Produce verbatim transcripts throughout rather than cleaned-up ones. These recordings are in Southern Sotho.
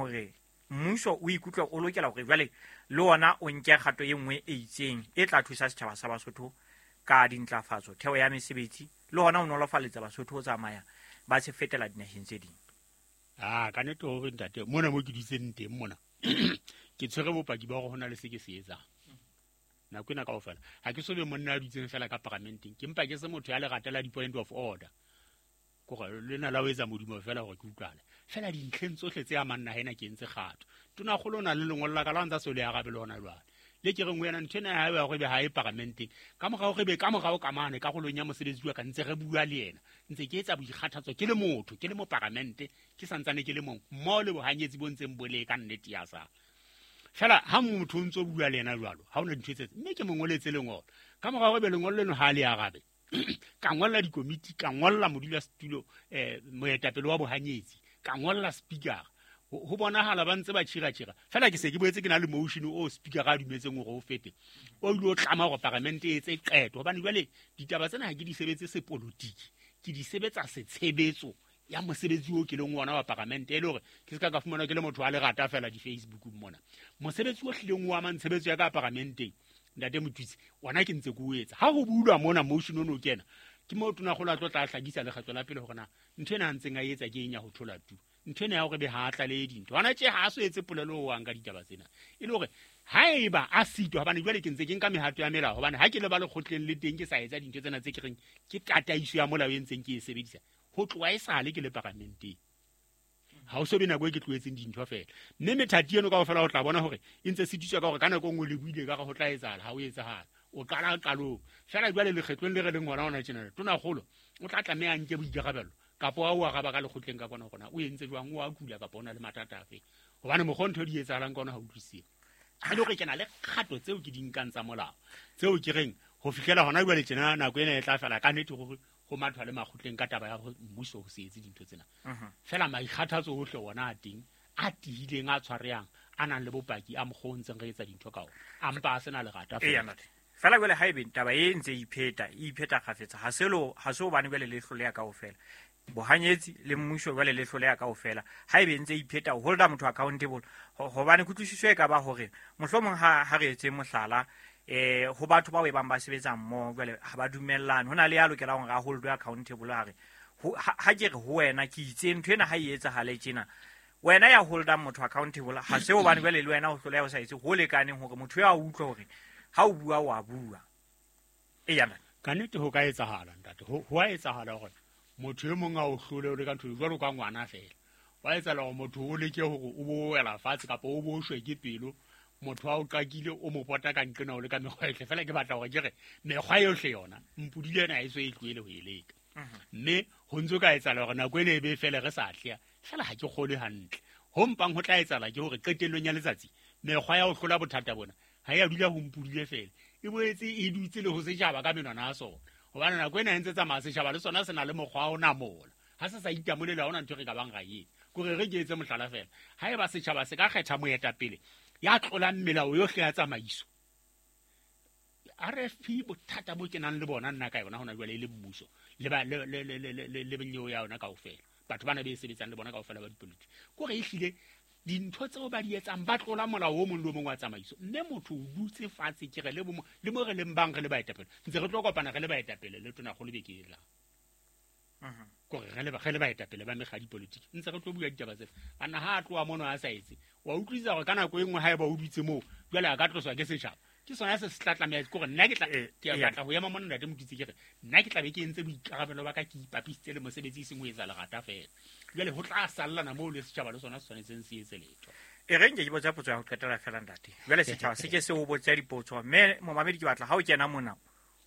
hore mmuso o ikutlwa o lokela hore jwale le ona o nke kgato e nngwe e itseng e tla thusa setjhaba sa Basotho ka dintlafatso, theo ya mesebetsi le hona ho nolofaletsa Basotho ho tsamaya ba se fetela dinaheng tse ding? Ah, ka nnete hore ntate, mona mo ke dutseng teng mona ke tshwere bopaki ba hore ho na le se ke se etsang nako ena kaofela. Ha ke so be monna a dutseng fela ka paramenteng, ke mpa ke se motho ya lerata la di-point of order, kore lena la ho etsa modumo fela hore ke utlwale fela dintlheng tsohle tse amang naha ena ke entse kgato. Tonakgolo o na le lengolo la ka la ho ntsa so le arabe le hona jwale le ke reng ho yena ntho ena ya hae ya hore ebe ha e paramenteng ka morao re be ka morao ka mane karolong ya mosebetsi wa ka ntse re bua le yena, ntse ke etsa boikgathatso ke le motho, ke le moparamente, ke santsane ke le mong mmoho le bohanyetsi bo ntseng bo le ka nnete ya sa fela. Ha motho o ntso bua le yena jwalo ha hona dintho tse, mme ke mo ngoletse lengolo ka morao ebe lengolo leno ha le arabe, ka ngolla dikomiti, ka ngolla modulasetulo, eh moetapele wa bohanyetsi, ka ngolla speaker. Ho bonahala ba ntse ba tjhira-tjhira fela. Ke se ke boetse ke na le motion o speaker a dumetseng hore o fete, o ile o tlama hore paramente e etse qeto, hobane jwale ditaba tsena ha ke di sebetse sepolotiki, ke di sebetsa setshebetso ya mosebetsi o ke leng ona wa paramente, e le hore ke se ka ka fumana ke le motho wa lerata fela di-Facebook mona. Mosebetsi o hlileng o amang tshebetso ya ka paramenteng, ntate Mothusi, ona ke ntse ke o etsa. Ha ho bulwa mona motion ono o kena, ke moo tonakgolo a tlo tla hlakisa lekgetlo la pele hore na ntho ena a ntseng a etsa ke eng ya ho thola tu, ntho ena ya hore be ha a tlalehe dintho hona tje, ha a so etse polelo o ang ka ditaba tsena, e le hore haeba a sitwa, hobane jwale ke ntse ke nka mehato ya melao, hobane ha ke le ba lekgotleng le teng ke sa etsa dintho tsena tse ke reng ke tataiso ya molao e ntseng ke e sebedisa ho tloha e sale ke le paramenteng, ha o so be nako e ke tlohetseng dintho fela. Mme methati eno kaofela o tla bona hore e ntse sitiswa ka hore ka nako e nngwe le buile ka re ho tla etsahala, ha o etsahala o qala qalong fela. Jwale lekgetlong le re leng hona hona tjena, tonakgolo o tla tlameha a nke boikarabelo kapa wa o araba ka lekgotleng ka kona hore na o entse jwang, o a kula kapa o na le mathata afe, hobane mokgwa ntho di etsahalang ka ona ha utlwisise. E le hore ke na le kgato tseo ke di nkang tsa molao tseo ke reng ho fihlela hona jwale tjena nako ena e tla fela ka nnete hore ho mathwa le makgotleng ka taba ya mmuso ho se etse dintho tsena. Fela maikgathatso ohle ona a teng, a tiileng, a tshwarehang, a nang le bopaki a mokgwa o ntseng re etsa dintho ka ona, a mpa a sena lerata fela. Fela jwale ha ebe taba e ntse e ipheta, e ipheta kgafetsa, ha se lo ha se hobane jwale le hloleha kaofela bohanyetsi le mmuso jwale le hloleha kaofela. Ha ebe ntse ipheta ho holda motho accountable, hobane kutlwisiso e ka ba hore mohlomong ha ha re etse mohlala eh ho batho ba bang ba sebetsang mmoho jwale ha ba dumellane, hona le ya lokelang hore a holdwe accountable, ha re ha ke re ho wena ke itse ntho ena ha e etsahale tjena, wena ya holdang motho accountable ha se hobane jwale le wena o hloleha o sa etse ho lekaneng hore motho ya utlwa hore ha o bua wa bua. E yana ka nnete ho ka etsahala ntate, ho ho a etsahala hore motho e mong a o hlole o le ka ntho jwalo ka ngwana fela, wa etsahala hore motho o leke hore o bo wela fatshe kapa o bo shwe ke pelo, motho a o qakile o mo pota ka nqena o le ka mekgwa yohle. Fela ke batla hore ke re mekgwa yohle yona mpudile ena ha e so e tlohele ho e leka, mme ho ntso ka etsahala hore nako ena e be fele re sa atleha fela. Ha ke kgolwe hantle ho mpang ho tla etsahala ke hore qetellong ya letsatsi mekgwa ya ho hlola bothata bona ha ya dula ho mpudile fela, e boetse e dutse le ho setjhaba ka menwana ya sona, hobane nako ena e ntse tsamaya setjhaba le sona se na le mokgwa wa ho namola, ha se sa itamolele ha hona ntho e re ka bang ra e etsa. Kore re ke etse mohlala fela, haeba setjhaba se ka kgetha moetapele ya tlolang melao yohle ya tsamaiso, R F P bothata bo kenang le bona nna ka yona hona jwale e le mmuso le ba le le le le le benyeo ya yona kaofela, batho bana be e sebetsang le bona kaofela ba dipolitiki, kore ehlile dintho tseo ba di etsang ba tlola molao o mong le o mong wa tsamaiso. Mme motho o dutse fatshe ke re le bo le mo re leng bang re le baetapele, ntse re tlo kopana re le baetapele le tonakgolo beke e tlang, kore re le re le baetapele ba mekga dipolitiki ntse re tlo bua ditaba tsena. Banna ha a tloha mono a sa etse, wa utlwisisa hore ka nako e nngwe haeba o dutse moo jwale a ka tloswa ke setjhaba, ke sona se se tla tlameha ke hore nna ke tla ke batla ho ema mona ntate Mothusi ke re nna ke tla be ke entse boikarabelo ba ka, ke ipapisitse le mosebetsi e seng ho etsa lerata fela. Jwale ho tla sallana moo le setjhaba le sona se tshwanetseng se etse letho. E re nke ke botsa potso ya ho qetela fela ntate. Jwale setjhaba se ke se o botsa dipotso, mme momamedi ke batla ha o kena mona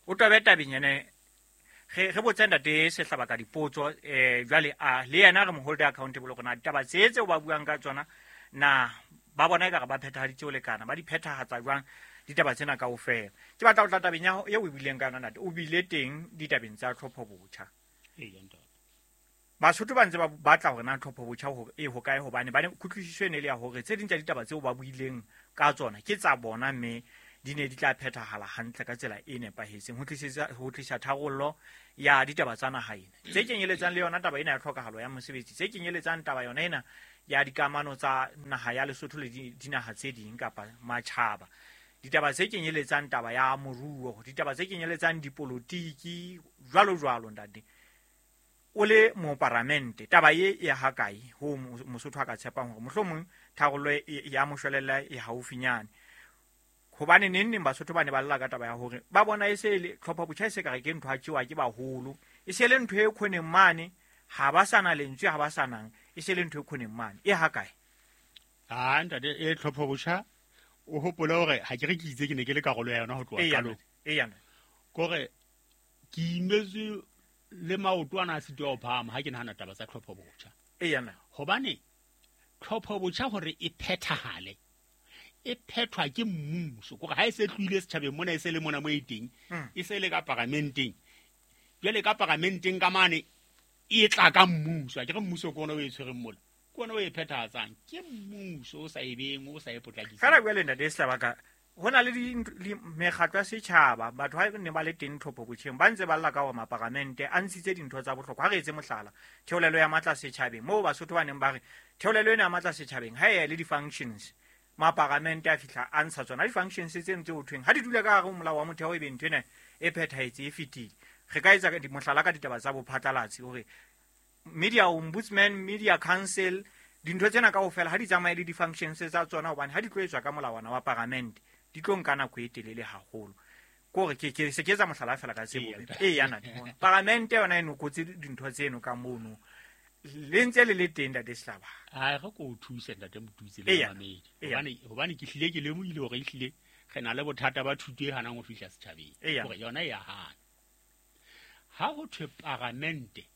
o tobe tabeng ene re re botsa ntate Sehlaba ka dipotso, eh jwale a le yena re mo hold accountable hore na ditaba tse tseo ba buang ka tsona na ba bona ekare ba phethahaditse ho lekana, ba di phethahatsa jwang ditaba tsena kaofela. Ke batla ho tla tabeng ya eo o buileng ka yona ntate, o bile teng ditabeng tsa tlhopho botjha. Ee ntate. Basotho ba ntse ba batla hore na tlhopho botjha hore e hokae, hobane ba ne kutlwisiso e ne le ya hore tse ding tsa ditaba tseo ba buileng ka tsona ke tsa bona mme di ne di tla phethahala hantle ka tsela e nepahetseng ho tlisetsa ho tlisa tharollo ya ditaba tsa naha ena, tse kenyeletsang le yona taba ena ya tlhokahalo ya mosebetsi, tse kenyeletsang taba yona ena ya dikamano tsa naha ya Lesotho le dinaha tse ding kapa matjhaba. Ditaba tse kenyeletsang taba ya moruo, ditaba tse kenyeletsang dipolotiki jwalo jwalo ntate. O le moparamente taba ye e ha kae ho Mosotho a ka tshepang hore mohlomong tharollo ya moshwelella e haufinyane. Hobane neng neng Basotho ba ne ba lla ka taba ya hore ba bona e se le tlhopha botjha e se ka re ke ntho a tjewa ke baholo, e se le ntho e khoneng mane, ha ba sana lentswe, ha ba sanang, e se le ntho e khoneng mane e ha kae? Ah ntate, e tlhopha botjha o hopole hore ha ke re ke itse ke ne ke le karolo ya yona ho tloha qalong. Eya kore ke imetswe le maoto ana a sitwa ho phahama ha ke nahana taba tsa tlhopho botjha. Eya na hobane tlhopho botjha hore e phethahale e phethwa ke mmuso, kore ha e se tlohile setjhabeng mona, e se le mona mo e teng, e se le ka paramenteng. Jwale ka paramenteng ka mane e tla ka mmuso, a ke re mmuso ke ona o e tshwereng mola, ke ona o e phethahatsang, ke mmuso o sa e beng, o sa e potlakiseng. Fela jwale ntate Sehlabaka, ho na le mekgatlo ya setjhaba, batho ha ne ba le teng tlhopho botjheng ba ntse ba lla ka hore maparamente a ntshitse dintho tsa bohlokwa. Ha re etse mohlala, theolelo ya matla setjhabeng, moo Basotho ba neng ba re theolelo ena ya matla setjhabeng ha e le di-functions, maparamente a fihla a ntsha tsona di-functions tse ntse ho thweng ha di dula ka hare ho molao wa motheo, e be ntho ena e phethahetse e fetile. Re ka etsa mohlala ka ditaba tsa bophatlalatsi hore media ombudsman, media council, dintho tsena kaofela ha di tsamaye le di-functions tsa tsona, hobane ha di tlo etswa ka molawana wa paramente di tlo nka nako e telele haholo. Kore ke ke se ke etsa mohlala fela ka tsebo e yana paramente yona e nokotse dintho tseno ka mono le ntse le le teng ntate Sehlaba. A re ko o thuse ntate Motutsi le mamedi, hobane hobane ke hlile ke lemohile hore ehlile re na le bothata ba thuto e hanang ho fihla setjhabeng, hore yona e ya hana. Ha ho thwe paramente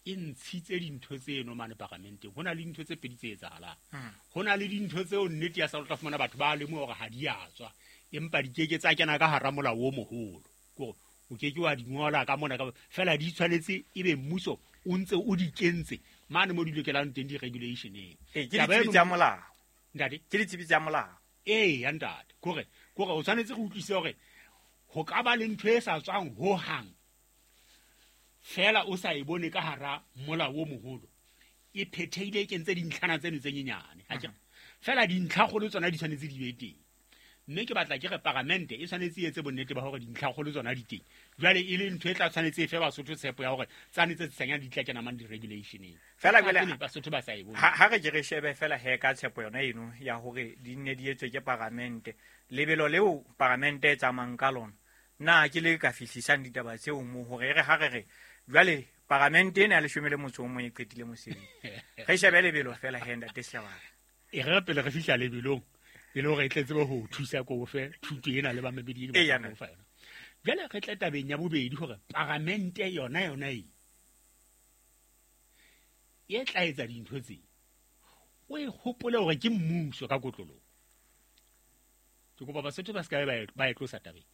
e ntshitse dintho tseno mane paramenteng, ho na le dintho tse pedi tse etsahalang. Ho na le dintho tseo nnete ya sa tla fumana batho ba lemoha hore ha di a tswa, empa di keke tsa kena ka hara molao o moholo, kore o keke wa di ngola ka mona ka fela, di tshwanetse ebe mmuso o ntse o di kentse mane mo di lokelang teng di-regulationeng. Ee, ke ditsebi tsa molao ntate, ke ditsebi tsa molao. Ee ya ntate, kore kore o tshwanetse go utlwisise hore ho ka ba le ntho e sa tswang hohang fela o sa e bone ka hara molao o moholo, e phethehile e kentse dintlhana tseno tse nyenyane. Ha ke fela dintlhakgolo tsona di tshwanetse di be teng, mme ke batla ke re paramente e tshwanetse e etse bonnete ba hore dintlhakgolo tsona di teng. Jwale e le ntho e tla tshwanetse e fe Basotho tshepo ya hore tsane tse tsanyang di tla kena mang di-regulationeng. Fela jwale Basotho ba sa e bone. Ha re ke re shebe fela he ka tshepo yona eno ya hore di nne di etswe ke paramente, lebelo leo paramente e tsamayang ka lona, na ke le ka fihlisang ditaba tseo mo hore re ha re re jwale paramente ena ya leshome le motso o mong e qetile mosebetsi. Re shebe lebelo fela he ntate Sehlabaka. E re pele re fihla lebelong e le hore e tle tsebe ho thusa ko fe thuto ena le bamamedi ke batla ho fa yona. Jwale re tle tabeng ya bobedi hore paramente yona yona e e tla etsa dintho tse, o e hopole hore ke mmuso ka kotloloho. Ke kopa Basotho ba se ka ba e tlosa tabeng,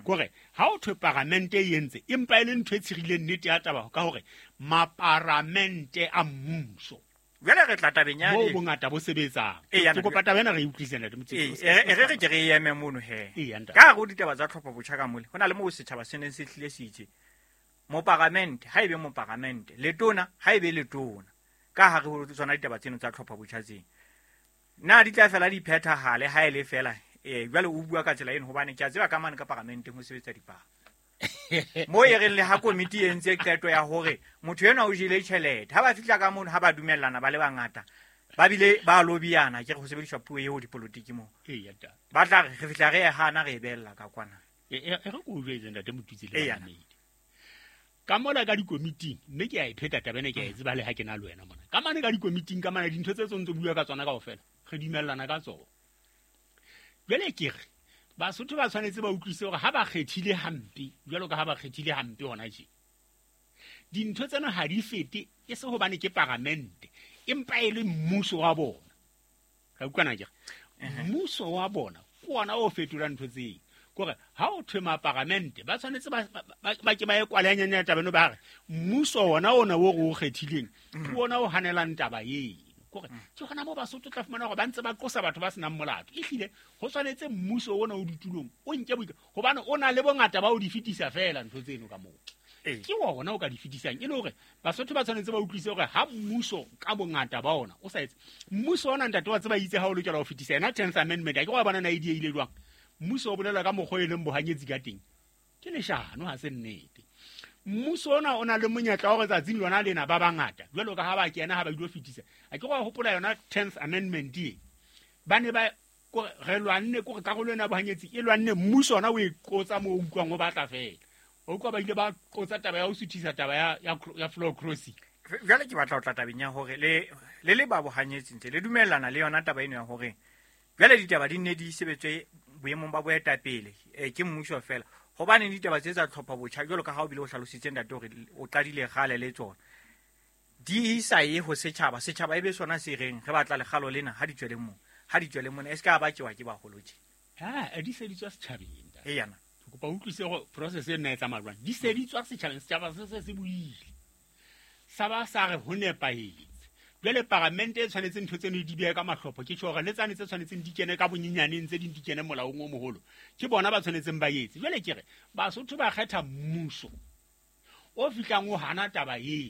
kore ha o thwe paramente e entse, empa e le ntho e tshirileng nnete ya taba ka hore maparamente a mmuso. Jwale re tla tabeng ya moo bongata bo sebetsang. Ke kopa taba ena re e utlwisise ntate Motsetsi. E re re ke re eme mono he. Ka hare ho ditaba tsa tlhopho botjha ka mole, ho na le moo setjhaba se neng se hlile se itse moparamente ha ebe moparamente, letona ha ebe letona, ka hare ho tsona ditaba tseno tsa tlhopho botjha tsena. Na di tla fela di phethahale ha e le fela? Eh, jwale o bua ka tsela eno hobane ke a tseba ka mane ka paramenteng ho sebetsa dipalo. Mo e reng le ha komiti e entse qeto ya hore motho enwa o jele tjhelete, ha ba fihla ka mono ha ba dumellana ba le bangata, ba bile ba lobiana, ke re ho sebediswa puo eo dipolotiki moo. Ba tla re re fihla re e hana re e bella ka kwana. E re ko o jwetse ntate Motutsi le bamamedi. Ka mola ka dikomiting, mme ke a e pheta taba ena ke a e tseba le ha ke na le wena mona. Ka mane ka dikomiting ka mane dintho tse tsontso bua ka tsona kaofela, re dumellana ka tsona. Jwale ke re Basotho ba tshwanetse ba utlwisise hore ha ba kgethile hampe, jwalo ka ha ba kgethile hampe hona tje, dintho tsena ha di fete e se hobane ke paramente, empa e le mmuso wa bona. Ka utlwana ke re mmuso wa bona ke ona o fetolang ntho tseo. Kore ha o thwe maparamente ba tshwanetse ba ba ke ba e kwalehanyane ya taba eno, ba re mmuso ona ona o re o kgethileng ke ona o hanelang taba eno. Kore ke hona moo Basotho tla fumana hore ba ntse ba qosa batho ba senang molato. Ehlile ho tshwanetse mmuso ona o ditulong o nke boika, hobane o na le bongata ba o di fetisa fela ntho tseno ka moo. Ke wona o ka di fetisang e le hore Basotho ba tshwanetse ba utlwise hore ha mmuso ka bongata ba ona o sa etse mmuso ona ntate wa tseba itse ha o lokela ho fetisa yena tenth amendment a ke wa bona na idea ile jwang mmuso o bolela ka mokgwa e leng bohanyetsi ka teng ke leshano ha se nnete mmuso ona o na le monyetla wa hore tsatsing lona lena ba bangata jwalo ka ha ba kena ha ba ilo fetisa a ke wa hopola yona tenth amendment e ba ne ba re lwanne kore karolo ena bohanyetsi e lwanne mmuso ona o e qotsa moo o utlwang o batla fela o utlwa ba ile ba qotsa taba ya ho suthisa taba ya ya floor crossing jwale ke batla ho tla tabeng ya hore le le le ba bohanyetsi ntse le dumellana le yona taba eno ya hore jwale ditaba di nne di sebetswe boemong ba boetapele ke mmuso fela hobane ditaba tse tsa tlhopha botjha jwalo ka ha o bile o hlalositse ntate hore o qadile kgale le tsona di sa ye ho setjhaba setjhaba e be sona se reng re batla lekgalo lena ha di tswele moo ha di tswele mona e se ka ba tjewa ke baholo tje ha di se di tswa setjhabeng ntate e yana ke kopa utlwise hore process e nna e tsamaya jwang di se di tswa setjhabeng setjhaba se se se buile sa ba sa re ho nepahetse jwale paramente e tshwanetse ntho tseno di behe ka mahlopho ke tjho hore le tsane tse tshwanetseng di kene ka bonyenyaneng tse ding di kene molaong o moholo ke bona ba tshwanetseng ba etse jwale ke re Basotho ba kgetha mmuso o fihlang o hana taba eo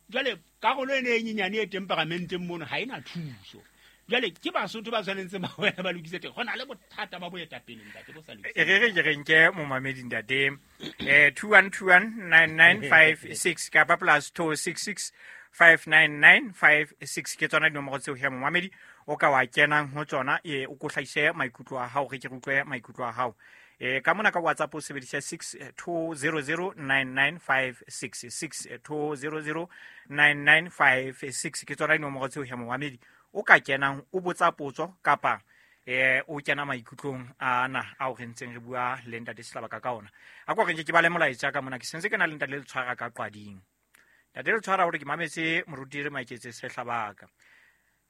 jwale karolo ene e nyenyane e teng paramenteng mono ha ena thuso jwale ke Basotho ba tshwanetseng ba wena ba lokise teng ho na le bothata ba boetapele ntate bo sa lokise e re re ke re nke momamedi ntate eh two one two one nine nine five six kapa plus two six six five nine nine five six ke tsona dinomoro tseo he momamedi o ka wa kenang ho tsona e o ko hlahise maikutlo a hao re ke re utlwe maikutlo a hao e ka mona ka WhatsApp o sebedisa six two zero zero nine nine five six six two zero zero nine nine five six ke tsona dinomoro tseo he momamedi o ka kenang o botsa potso kapa eh o kena maikutlong ana ao re ntseng re bua le ntate Sehlabaka ka ona a kwa re nke ke ba le molaetsa ka mona ke sentse ke na le ntate le tshwara ka qwading ntate le tshwara hore ke mametse moruti re Maiketse Sehlabaka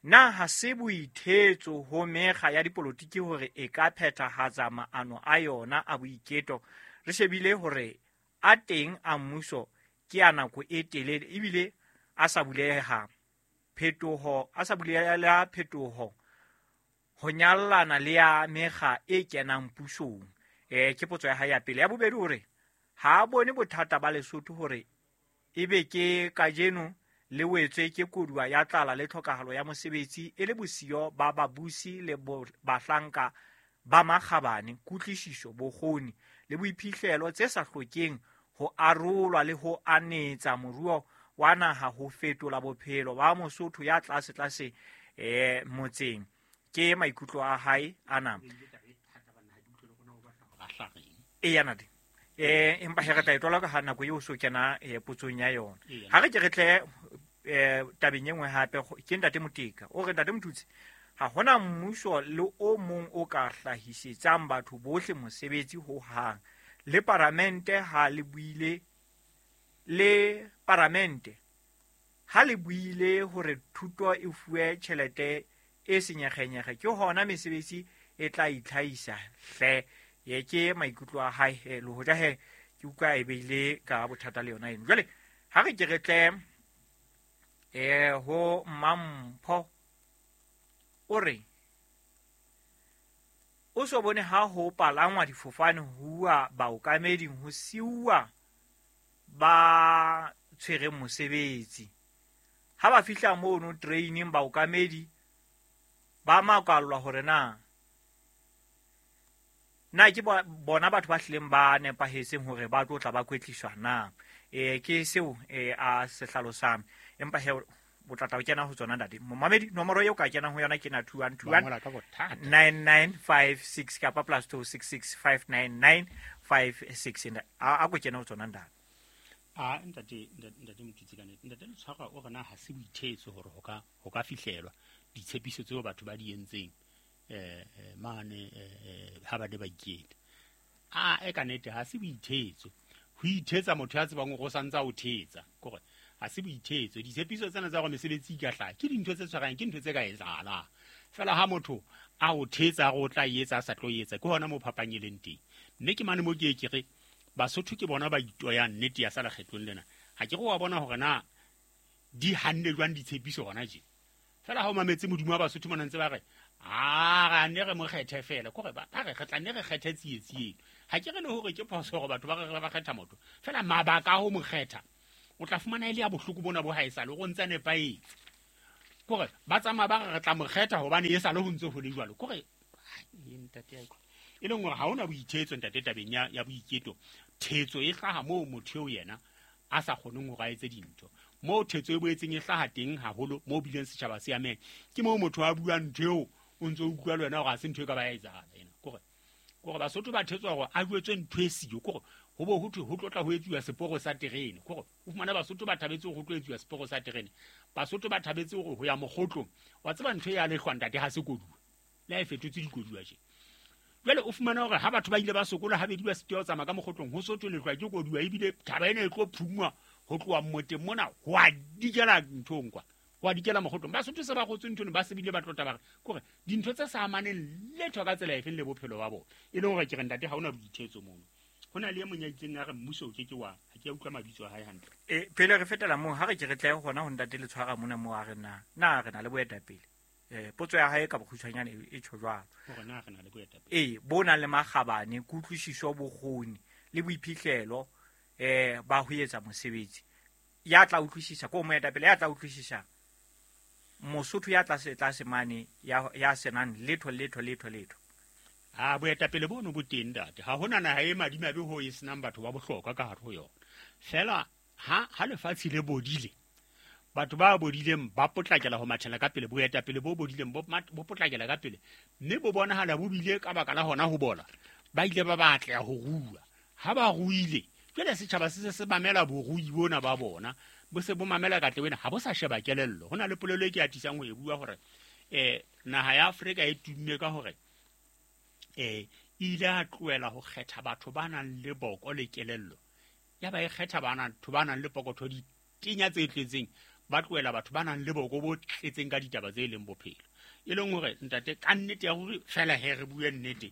na ha se boithetso ho mekga ya dipolotiki hore e ka phethahatsa maano a yona a boiketo re shebile hore a teng a mmuso ke a nako e telele ebile a sa buleha phetoho a sa bulela phetoho ho nyallana le ya mekga e kenang pusong eh ke potso ya hae ya pele ya bobedi hore ha bone bothata ba Lesotho hore ebe ke kajeno le wetswe ke koduwa ya tlala le tlhokahalo ya mosebetsi e le bosiyo ba babusi le bahlanka ba makgabane kutlwisiso bokgoni le boiphihlelo tse sa hlokeng ho arolwa le ho anetsa moruo wa naha ho fetola bophelo ba Mosotho ya tlase tlase eh motseng ke maikutlo a hae ana e yana di eh empa he re tla etola ka ha nako eo so kena e potsong ya yona ha re ke re tle eh tabeng e nngwe hape ke ntate Moteka o re ntate Motutsi ha hona mmuso le o mong o ka hlahisetsang batho bohle mosebetsi ho hang le paramente ha le buile le paramente ha le buile hore thuto e fuwe tjhelete e senyegenyege ke hona mesebetsi e tla itlhaisa hle ye ke maikutlo a hae le hoja he ke utlwa e beile ka bothata le yona eno jwale ha re ke re tle eh ho Mampho o re o so bone ha ho palangwa difofane huwa baokameding ho siuwa ba tshwereng mosebetsi ha ba fihla mono training baokamedi ba makallwa hore na na ke bona batho ba hlileng ba nepahetseng hore ba tlo tla ba kwetliswa na eh ke seo eh a se hlalosang empa he o tla tla o kena ho tsona ntate momamedi nomoro eo ka kenang ho yona ke na two one two one nine nine five six kapa plus two six six five nine nine five six a a ko kena ho tsona ntate a ntate ntate Motutsi ka nnete ntate le tshwara o rena ha se boithetso hore ho ka ho ka fihlelwa ditshepiso tseo batho ba di entseng eh mane ha ba ne ba iketa a e ka nnete ha se boithetso ho ithetsa motho ya tsebang hore o santsa o thetsa kore ha se boithetso ditshepiso tsena tsa hore mesebetsi e ka hlaha ke dintho tse tshwarang ke ntho tse ka etsahalang fela ha motho a o thetsa hore o tla etsa a sa tlo etsa ke hona mo phapang e leng teng mme ke mane mo ke ke re Basotho ke bona ba itoyang nnete ya sa lekgetlong lena ha ke re wa bona hore na di hanne jwang ditshepiso hona je fela ha o mametse modimo wa Basotho mona ntse ba re a ra ne re mo kgethe fela kore ba re re tla ne re kgethe tsietsi eno Ha ke re le hore ke phoso hore batho ba re ba kgetha motho fela mabaka a ho mo kgetha o tla fumana e le ya bohloko bona bo ha e sale go ntse nepahetse kore ba tsamaya ba re re tla mo kgetha hobane e sale ho ntse ho le jwalo kore ntate ya e leng hore ha hona boithetso ntate tabeng ya ya boiketo. Thetso e hlaha moo motho eo yena a sa kgoneng hore a etse dintho moo thetso e boetseng e hlaha teng haholo moo bileng setjhaba se ameng ke moo motho a buang ntho eo o ntse o utlwa le wena hore ha se ntho e ka ba ya etsahala ena kore kore Basotho ba thetswa hore a jwetswe ntho e siyo kore ho bo ho thwe ho tlotla ho etsuwa seporo sa terene kore o fumana Basotho ba thabetse hore ho tlo etsuwa seporo sa terene Basotho ba thabetse hore ho ya mokgotlong wa tseba ntho ya lehlwa ntate ha se koduwa le ha e fetotse dikoduwa tje. Jwale o fumana hore ha batho ba ile ba sokola habedi ba sitwa ho tsamaya ka mokgotlong ho sotho lehlwa ke koduwa ebile thaba ena e tlo phungwa ho tloha mmoteng mona ho a dikela nthong kwa ho a dikela mokgotlong. Basotho se ba kgotswe nthong ba sebile ba tlota ba re kore dintho tse sa amaneng letho ka tsela efeng le bophelo ba bona e leng hore ke re ntate ha hona boithetso mono. Ho na le e mong ya itseng a re mmuso o ke ke wa ha ke a utlwa mabitso a hae hantle. E pele re fetela moo ha re ke re tle hona ho ntate le tshwara mona moo a re na na re na le boetapele eh potso ya hae ka bokgutshwanyane e tjho jwalo hore na re na le boetapele e bo nang le makgabane kutlwisiso bokgoni le boiphihlelo eh ba ho etsa mosebetsi ya tla utlwisisa ko moetapele ya tla utlwisisa Mosotho ya tlase tlase mane ya ya senang letho letho letho letho. A boetapele bono bo teng ntate ha hona naha e madimabe ho e senang batho ba bohlokwa ka hare ho yona fela ha ha lefatshe le bodile batho ba bodileng ba potlakela ho mathela ka pele boetapele bo bodileng bo bo potlakela ka pele mme bo bonahala bo bile ka baka la hona ho bola ba ile ba batla ho rua ha ba ruile jwale setjhaba se se se mamela borui bona ba bona bo se bo mamela katle wena ha bo sa sheba kelello. Ho na le polelo e ke atisang ho e bua hore eh naha ya Afrika e tumme ka hore eh ile a tlohela ho kgetha batho ba nang le boko le kelello ya ba e kgetha bana batho ba nang le pokotho ditenya tse tletseng ba tlohela batho ba nang le boko bo tletseng ka ditaba tse leng bophelo e leng hore ntate ka nnete ya hore fela he re bue nnete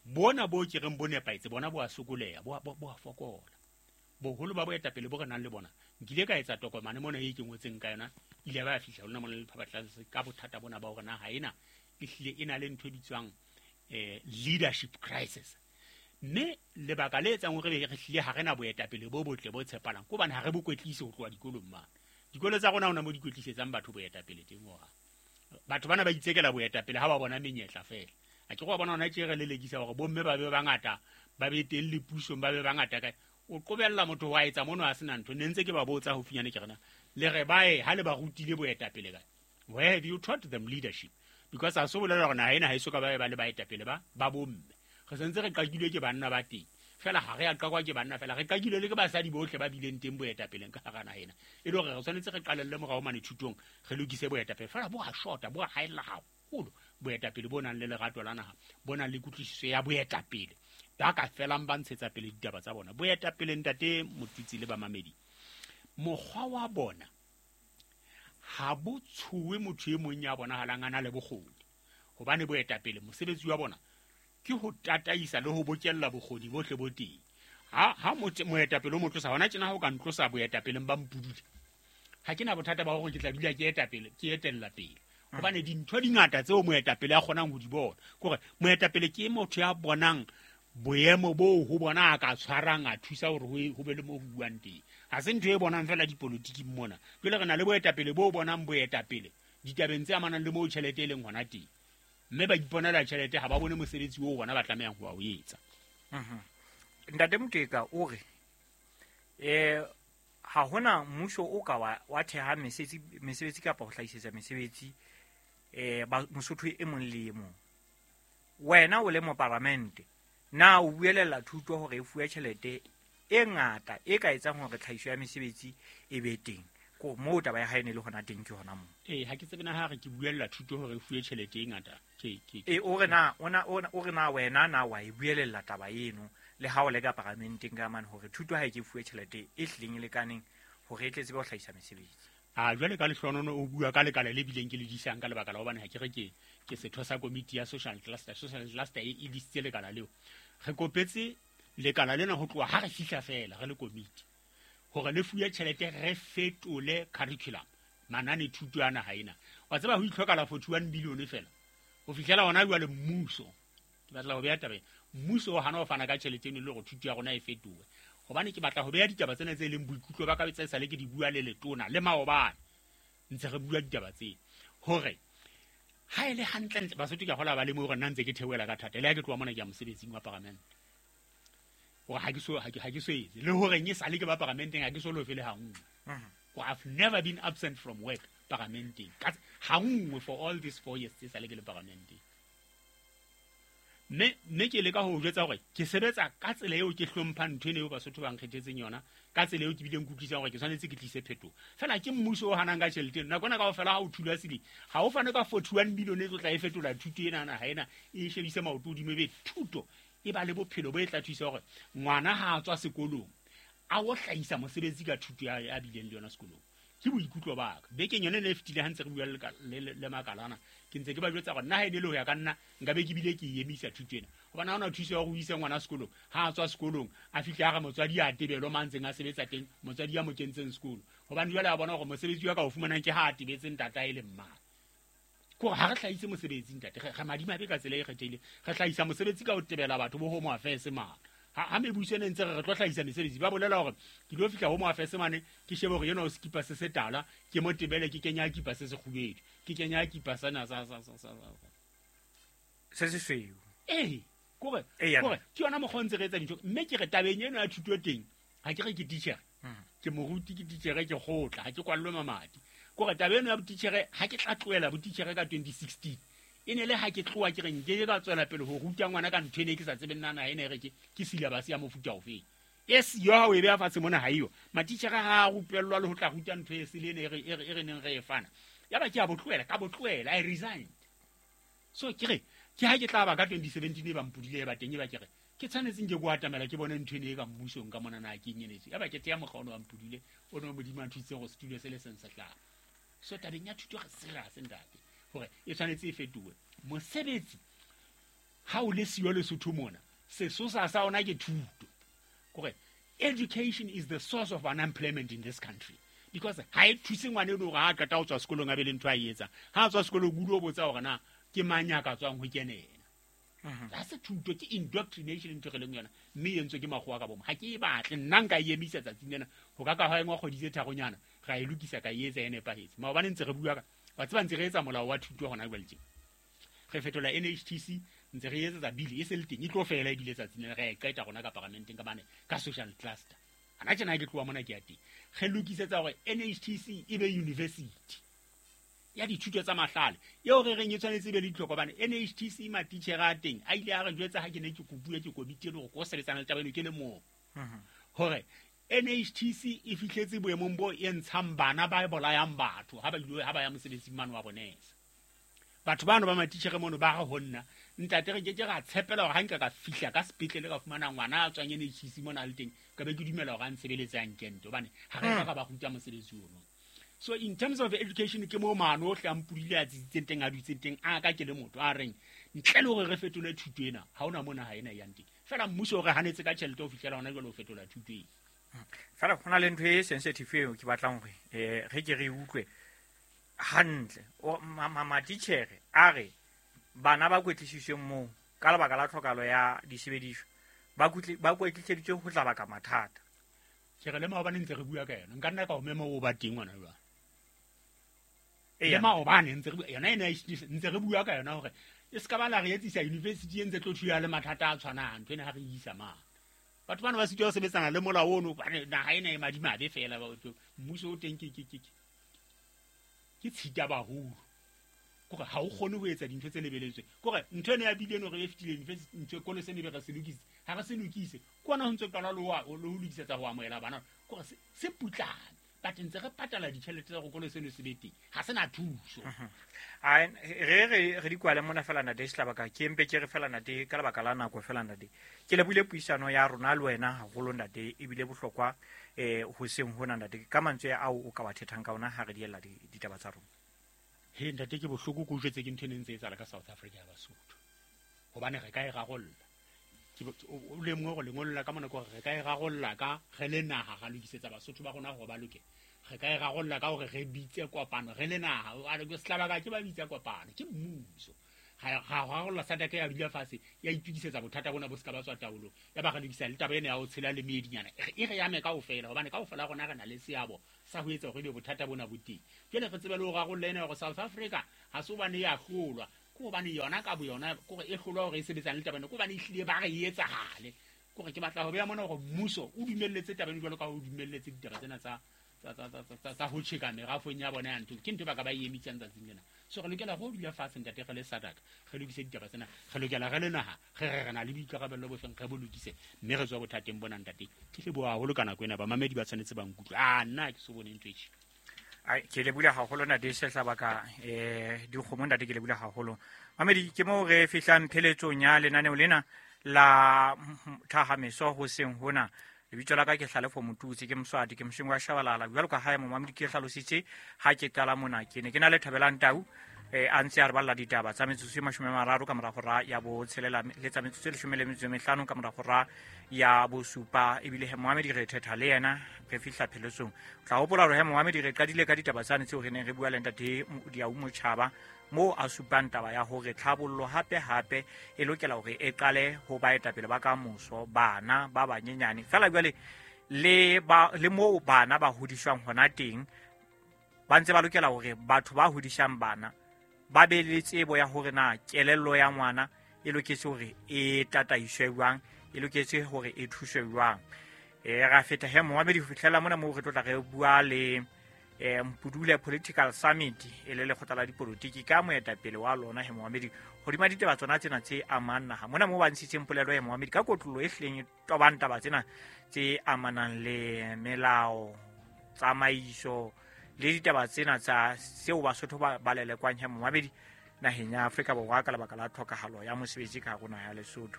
bona bo ke reng bo nepahetse bona bo a sokoleha bo bo a fokola boholo ba boetapele bo re nang le bona nkile ka etsa tokomane mona e ke ngotseng ka yona ile ba fihla lona mona le Lefapha ka bothata bona ba hore naha ena e hlile e na le ntho e bitswang eh leadership crisis mme lebaka le etsang hore re hlile ha rena boetapele bo botle bo tshepalang ke hobane ha re bo kwetlise ho tloha dikolong mane dikolo tsa rona hona mo di kwetlisetsang batho boetapele teng hore batho bana ba itsekela boetapele ha ba bona menyetla fela a ke go bona hona tje re lelekisa hore bomme ba be bangata ba be teng le pusong ba be bangata kae o qobella motho wa etsa mono a sena ntho ne ntse ke ba botsa ho finyane ke rena le re bae ha le ba rutile boetapele kae where have you taught them leadership because a so bolela hore naha ena ha eso ka ba ba le baetapele ba ba bomme re sentse re qakilwe ke banna ba teng fela ha re a qakwa ke banna fela re qakilwe le ke basadi bohle ba bileng teng boetapeleng ka hara naha ena e le hore re tshwanetse re qalelle morao mane thutong re lokise boetapele fela bo a shota bo a haella haholo boetapele bo nang le lerato la naha bo nang le kutlwisiso ya boetapele ba ka felang ba ntshetsa pele ditaba tsa bona boetapele ntate Motutsi le bamamedi mokgwa wa bona ha bo tshowe motho e mong ya bonahalang a na le bokgoni hobane boetapele mosebetsi wa bona ke ho tataisa le ho bokella bokgoni bohle bo teng ha ha moetapele o mo tlosa hona tjena ha o ka ntlosa boetapeleng ba mpudule ha ke na bothata ba hore ke tla dula ke etapele ke etella pele hobane dintho di ngata tseo moetapele a kgonang ho di bona kore moetapele ke motho ya bonang boemo bo ho bona a ka tshwarang a thusa hore ho be le mo ho buang teng ha se ntho e bonang fela dipolotiking mona jwale re na le boetapele bo bonang boetapele ditabeng tse amanang le moo tjhelete e leng hona teng mme ba iponela tjhelete ha ba bone mosebetsi oo bona ba tlamehang ho o etsa. Ntate Moteka o re eh ha hona mmuso o ka wa wa theha mesebetsi mesebetsi kapa ho hlahisetsa mesebetsi eh ba Mosotho e mong le e mong wena o le moparamente na o buelella thuto hore e fuwe tjhelete e ngata e ka etsang hore tlhahiso ya mesebetsi e be teng ko moo taba ya hae ne le hona teng ke hona moo eh ha ke tsebe na ha re ke buella thuto hore e fuwe tjhelete e ngata ke ke e o re na ona o re na wena na wa e buelella taba eno le ha o le ka paramenteng ka mane hore thuto ha e ke fuwe tjhelete e hlileng e lekaneng hore e tle tsebe ho hlahisa mesebetsi a jwale ka lehlonono o bua ka lekala le bileng ke le disang ka lebaka la hobane ha ke re ke ke setho sa komiti ya social cluster social cluster e e disitse lekala leo re kopetse lekala lena ho tloha ha re fihla fela re le komiti hore le fuwe tjhelete re fetole curriculum manane thuto ya naha ena wa tseba ho itlhokala forty-one billion fela ho fihlela hona jwale mmuso Ke batla ho beha taba ena. Mmuso o hana ho fana ka tjhelete eno le hore thuto ya rona e fetohe. Hobane ke batla ho beha ditaba tsena tse leng boikutlo ba ka tse sale ke di bua le letona le maobane. Ntse re bua ditaba tsena. Hore ha e le hantlentle Basotho ke a hola ba le mo hore nna ntse ke theohela ka thata. Le ha ke tloha mona ke ya mosebetsing wa paramente. Hore ha ke so ha ke ha ke so etse. Le hore e sale ke ba paramenteng ha ke so lofe le ha nngwe. Hore I've never been absent from work paramenteng. Ka ha nngwe for all these four years tse sale ke le paramenteng. Mme mme ke leka ho jwetsa hore ke sebetsa ka tsela eo ke hlomphang ntho eno eo Basotho ba nkgethetseng yona, ka tsela eo ke bileng ke utlwisisang hore ke tshwanetse ke tlise phetoho. Feela ke mmuso o hanang ka tjhelete eno. Nako ena kaofela ha o thula sele, ha o fane ka forty-one billion e tlo tla e fetola thuto ena naha ena, e shebise maoto hodimo ebe thuto e ba le bophelo bo e tla thusa hore ngwana ha a tswa sekolong a o hlahisa mosebetsi ka thuto ya a bileng le yona sekolong. Ke boikutlo ba ka. Bekeng yona e fetile ha ntse re bua le le, le makalana, ke ntse ke ba jwetsa hore nna ha e ne le ho ya ka nna nka be ke bile ke e emisa thuto ena. Hobane ha hona thuso ya hore o ise ngwana sekolong, ha a tswa sekolong a fihle a re motswadi a tebelo ma ntseng a sebetsa teng, motswadi ya mo kentseng sekolo. Hobane jwale a bona hore mosebetsi wa ka o fumanang ke ha a tebetse ntatae le mma. Ke hore ha re hlahise mosebetsi ntate, re, re madimabe ka tsela e kgethehileng. Re hlahisa mosebetsi ka ho tebela batho bo Home Affairs mane. Ha, ha mebuso ene ntse re re tlo hlahisa mesebetsi, ba bolela hore ke tlo fihla Home Affairs mane, ke shebe hore enwa o sekipa se setala, ke mo tebele ke kenya kipa se sekgubedu, ke kenya kipa sena sa, sa, sa, sa, sa. Se sesweu. Eh, kore, Eh, kore, ke yona mokgwa o ntse re etsa dintho. Mme ke re tabeng eno ya thuto teng, ha ke re ke titjhere. Ke moruti, ke titjhere, ke kgotla, ha ke kwallwe mamati. Kore taba eno ya botitjhere, ha ke tla tlohela botitjhere ka twenty sixteen, e ne le ha ke tloha ke re nke ka tswela pele ho ruta ngwana ka ntho ene ke sa tsebeng na naha ena e re ke, ke syllabus ya mofuta ofeng. E siyo ha o e beha fatshe mona ha eyo. Matitjhere ha a rupellwa le ho tla ruta ntho e sele ene e re, e re, e re neng re e fana. Yaba ke a bo tlohela, ka bo tlohela, I resigned. So ke re, ke ha ke tla ba ka twenty seventeen e ba mpodile e ba teng e ba ke re, ke tshwanetse nke ko atamela ke bone ntho ene e ka mmusong ka mona na ke eng enetse. Yaba ke teya mokgwa ono wa mpodile, o no Modimo a nthusitse hore setulo se le seng se hlaha. So tabeng ya thuto re serious ntate, hore e tshwanetse e fetohe. Mosebetsi ha o le siyo Lesotho mona, sesosa sa ona ke thuto. Kore education is the source of unemployment in this country. Because ha e thuse ngwana eno hore ha a qeta ho tswa sekolong a be le ntho a e etsang. Ha a tswa sekolong o dula o botsa hore na ke mang ya ka tswang ho kena ena. Ha se thuto, ke indoctrination ntho e re leng yona, mme e entswe ke makgowa ka bomo. Ha ke e batle, nna nka e emisa tsatsing lena, ho ka ka ha engwa kgwedi tse tharonyana, ra e lokisa ka e etsa e nepahetse. Maobane ntse re bua ka, wa tseba ntse re etsa molao wa thuto hona jwale tje. Re fetola N H T C, ntse re etsetsa bill e se le teng, e tlo fela ebile tsatsing lena, re a e qeta rona ka paramenteng ka bane ka social cluster. Hana tjena ke tloha mona ke ya teng. Re lokisetsa hore N H T C e be university ya dithuto tsa mahlale eo re reng e tshwanetse e be le ditlhoko, hobane N H T C matitjhere a teng a ile a re jwetsa ha ke ne ke kopuwe ke komiti eno hore ke o sebetsana le taba eno ke le mong, hore N H T C e fihletse boemong bo e ntshang bana ba bolayang batho ha ba ile ha ba ya mosebetsing mane wa bonesa. Batho bano ba matitjhere mono ba re ho nna, ntate re ke ke ra tshepela hore ha nka ka fihla ka sepetlele ka fumana ngwana a tswang N H T C mona a le teng, ka be ke dumela hore a ntshebeletse a nkente, hobane ha re ka ba ruta mosebetsi ono. So in terms of education, ke mo maano ohle a mpodile a tsitsitseng teng, a dutseng teng, a ka ke le motho a reng ntle le hore re fetole thuto ena, ha hona mona ha ena e yang teng. Feela mmuso o re hanetse ka tjhelete ho fihlela hona jwale ho fetola thuto ena. Feela ho na le ntho e sensitive eo ke batlang hore, eh, re ke re utlwe hantle. O, ma-, ma-, matitjhere a re bana ba kwetlisitsweng moo ka lebaka la tlhokahalo ya disebediswa, ba kutli-, ba kwetliseditswe ho tla baka mathata. Ke re le maobane ntse re bua ka yona, nka nna ka o mema o ba teng ngwana jwang. Eya. Le maobane ntse re bua, yona ena e ntse re bua ka yona hore e ska ba la re etsisa university e ntse tlo thuya le mathata a tshwanang, ntho ena ha re e isa mane. Batho bana ba sitwa ho sebetsana le molao ono, hobane naha ena e madimabe feela, ba otlo, mmuso o teng ke, ke, ke, ke, ke tshita baholo. Kore ha o kgone ho etsa dintho tse lebeletsweng. Kore ntho ena ya bile eno re e fetile university, ntho e kolo seno e be re se lokise. Ha re se lokise, ke hona ho ntso qala le ho a-, le ho lokisetsa ho amohela bana. Kore se, se putlame. But ntse re patala ditjhelete tsa hore kolo seno se be teng. Ha se na thuso. Mhm. Ai, re, re, re di kwale mona fela ntate Sehlabaka, ke mpe ke re fela ntate ka lebaka la nako fela ntate. Ke lebohile puisano ya rona le wena haholo ntate, ebile bohlokwa, eh, hoseng hona ntate. Ka mantswe ao o ka wa thethang ka ona ha re diella di-, ditaba tsa rona. He ntate, ke bohloko ke utlwetse ke ntho e neng ntse e etsahala ka South Africa ya Basotho. Hobane re ka e rarolla. Ke bo-, o, o lemohe hore lengolo la ka mona ke hore re ka e rarolla ka re le naha, ra lokisetsa Basotho ba rona hore ba loke. Re ka e rarolla ka hore re bitse kopano re le naha. A re, Sehlabaka ke ba bitsa kopano, ke mmuso. ga rarolla SADC ya dula fatshe ya itukisetsa bothata bona bo se ka ba tswa taolong ya ba re lokisa le taba ena ya ho tshela le meedinyana e re yame kaofela hobane kaofela rona re na le seabo sa ho etsa hore ebe bothata bona bo teng. Jwale re tsebe le ho rarolla ena hore South Africa ha se hobane ya hlolwa, ke hobane yona ka boyona kore e hlolwa hore e sebetsang le taba ena, ke hobane ehlile ba re e etsahale. Kore ke batla ho beha mona hore mmuso o dumelletse taba ena jwalo ka ha o dumelletse ditaba tsena tsa tsa ho tjheka merafong ya bona ya ntho, ke ntho ba ka ba e emitsang tsatsing lena. So re lokela ho dula fatshe ntate re le SADC re lokise ditaba tsena, re lokela re le naha re re re na le boikarabello bo feng re bo lokise mme re tswa bothateng bona ntate. Ke leboha haholo ka nako ena, bamamedi ba tshwanetse ba nkutlwe. A nna ke so bone ntho e tjena. Ai ke leboha haholo ntate Sehlabaka eh dikgomo ntate ke leboha haholo. Mamedi ke moo re fihlang pheletsong ya lenaneo lena la Thahameso hoseng hona. Lebitso la ka ke Hlalefo Motutsi, ke Moswati, ke mosheng wa Shabalala. Jwalo ka hae momamedi ke hlalositse ha ke qala mona ke ne ke na le Thabelang Tau eh a ntse a re balla ditaba tsa metsotso e mashome a mararo ka mora hora ya botshelela le tsa metsotso e leshome le metso e mehlano ka mora hora ya bosupa. Ebile he momamedi re thetha le yena re fihla pheletsong. O tla hopola hore he momamedi re qadile ka ditaba tsane tseo re neng re bua le ntate Diau Motjhaba moo a supang taba ya hore tlhabollo hape hape e lokela hore e qale ho baetapele ba kamoso, bana ba banyenyane fela jwale le ba le moo bana ba hodiswang hona teng ba ntse ba lokela hore batho ba hodisang bana ba be le tsebo ya hore na kelello ya ngwana e loketse hore e tataiswe jwang, e loketse hore e thuswe jwang. E ra feta he momamedi ho fihlela mona moo re tlo tla re bua le eh Mpudule Political Summit e le lekgotla la dipolotiki ka moetapele wa lona he momamedi hodima ditaba tsona tsena tse amang naha mona moo ba ntshitseng polelo ya momamedi ka kotlolo e hleng e tobang taba tsena tse amanang le melao, tsamaiso le ditaba tsena tsa seo Basotho ba balelekwang he momamedi naheng ya Afrika Borwa ka lebaka la tlhokahalo ya mosebetsi ka hare ho naha ya Lesotho.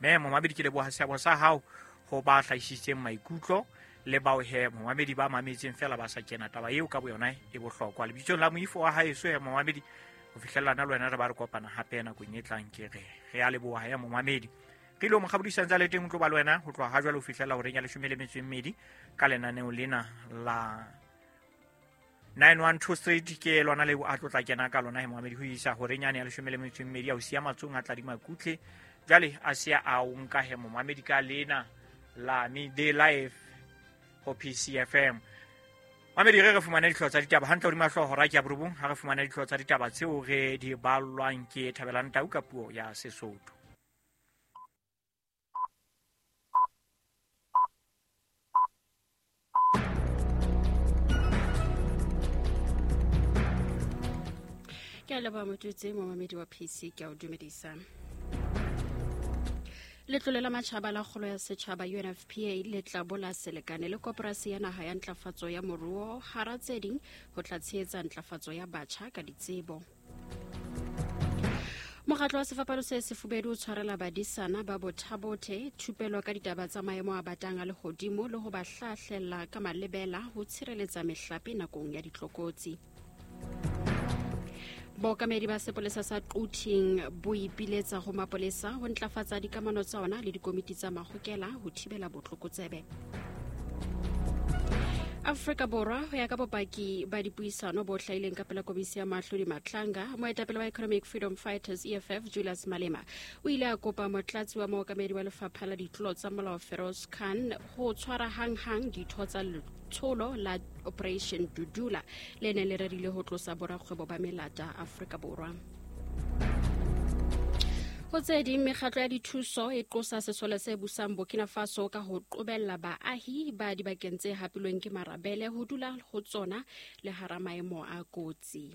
Mme momamedi ke leboha seabo sa hao ho ba hlahisitseng maikutlo le bao he momamedi ba mametseng fela ba sa kena taba eo ka boyona e bohlokwa. Lebitsong la moifo wa haeso he momamedi ho fihlellana le wena re ba re kopana hape nakong e tlang ke re re a leboha he momamedi. Re ile mo kgabodisang tsa le teng ho tlo ba le wena ho tloha ha jwale ho fihlela horeng ya leshome le metso e mmedi ka lenaneo lena la nine one two Street ke lona leo a tlo tla kena ka lona he momamedi ho isa horeng yane ya leshome le metso e mmedi ya ho siya matsong a tladima kutle jwale a siya a o nka he momamedi ka lena la Midday Life ho P C F M. Mamedi re re fumana dihlooho tsa ditaba hantle hodima hlooho hora ke ya borobong ha re fumana dihlooho tsa ditaba tseo re di ballwang ke Thabelang Tau ka puo ya Sesotho. Ke a leboha Motutsi, momamedi wa P C, ke a o dumedisa. Letlole la matjhaba la kgolo ya setjhaba U N F P A le tla bola selekane le koporasi ya naha ya ntlafatso ya moruo hara tse ding ho tla tshehetsa ntlafatso ya batjha ka ditsebo. Mokgatlo wa Sefapano se Sefubedu o tshwarela badisana ba Bothabothe thupelo ka ditaba tsa maemo a batang a lehodimo le ho ba hlahlella ka malebela ho tshireletsa mehlape nakong ya ditlokotsi. Bookamedi ba sepolesa sa Quthing bo ipiletsa ho mapolesa ho ntlafatsa dikamano tsa ona le dikomiti tsa mahokela ho thibela botlokotsebe. Afrika Borwa ho ya ka bopaki ba dipuisano bo hlahileng ka pela komisi ya Mahlodi Matlanga, moetapele wa Economic Freedom Fighters E F F Julius Malema o ile a kopa motlatsi wa mookamedi wa lefapha la ditlolo tsa molao Feroz Khan ho tshwara hanghang ditho tsa letsholo la Operation Dudula le neng le rerile ho tlosa borakgwebo ba melata Afrika Borwa. Ho tse ding, mekgatlo ya dithuso e qosa sesole se busang Burkina Faso ka ho qobella baahi ba dibakeng tse hapilweng ke marabele ho dula ho tsona le hara maemo a kotsi.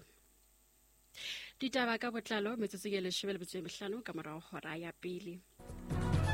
Ditaba ka botlalo metsotsong e leshome le metso e mehlano ka morao hora ya pele.